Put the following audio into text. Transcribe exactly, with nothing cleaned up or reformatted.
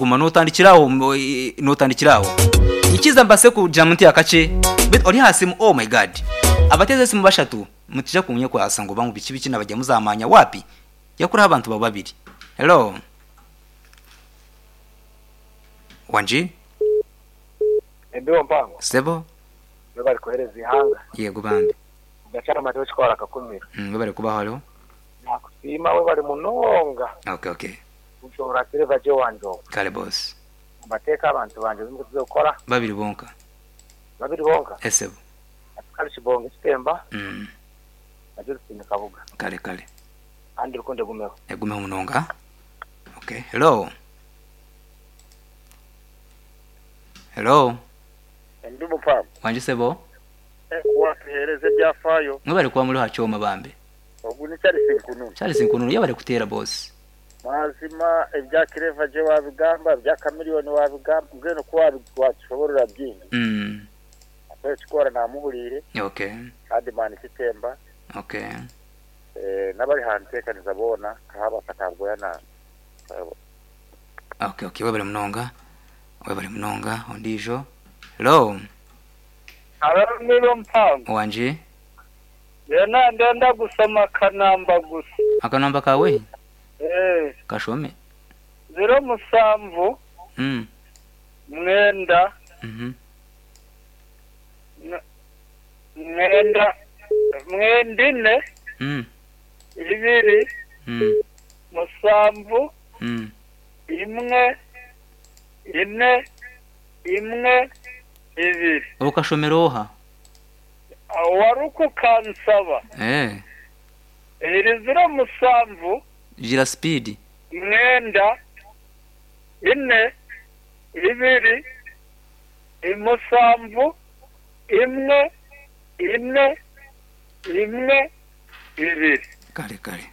Guma notandikiraho notandikiraho. Nyikiza mbase kugira nti akakye. Bit ori aha simu, oh my God. Abateze esimu bashatu mutija kunyekwasa ngu bangu biki biki nabajya muzamanya wapi? Yakuraho abantu baba babiri. Hello. Wanji? Embibo mpango. Sebo? We bari kuhereza ihanga. Yego bambi. Gachara mateo chikora kakumira. Mm, we bari kubaho hariho. Nakusiima we bari munonga. Okay, okay. Ushobora kireva je wanjo. Kale boss. Amateka abantu banje bimukuze gukora. Babiri bonka. Babiri bonka. Esebo. Kale kibonge kitemba. Mm. Naje rusine kabuga. Kale kale. Andi rukunde gumeho. Egumeho munonga. Okay. Hello. Hello. Ndi mupambo. Wanje sebo? Watuhereze ebyafayo. Mwe bari kuba muri hachoma bambe. Ogu ni Charles Nkununu. Charles Nkununu yabari kutera boss. Mazima ebya Kireva je wabigamba, ebya Chameleone wabigamba, mbwenu ko wabishoborera byingi. Mm. Ape chikora namuhurire. Okay. Kandi mani kitemba. Okay. Eh nabari hantekaniza bona kahaba katabgoya na. Okay, okay, webale munonga. Webale munonga ondijo. Hello. Aramiro mpango. Wanje? Yena ndenda gusoma kanamba gusa. Akanamba kawe? Eh. Kashome. Zero musamvu. Mm. Mwenda. Mhm. Mwenda mwendine. Mm. Ibiri. Mm. Musamvu. Mm. Imwe. Ine. Imwe. Ibiri. Ukashomera oha? Waruku kansaba. Eh. Iri zero musamvu. Gira speed. Mwenda. Ine. Ibiri. Imusamvu. Imwe. Ine. Imwe. Ibiri. Kale kale.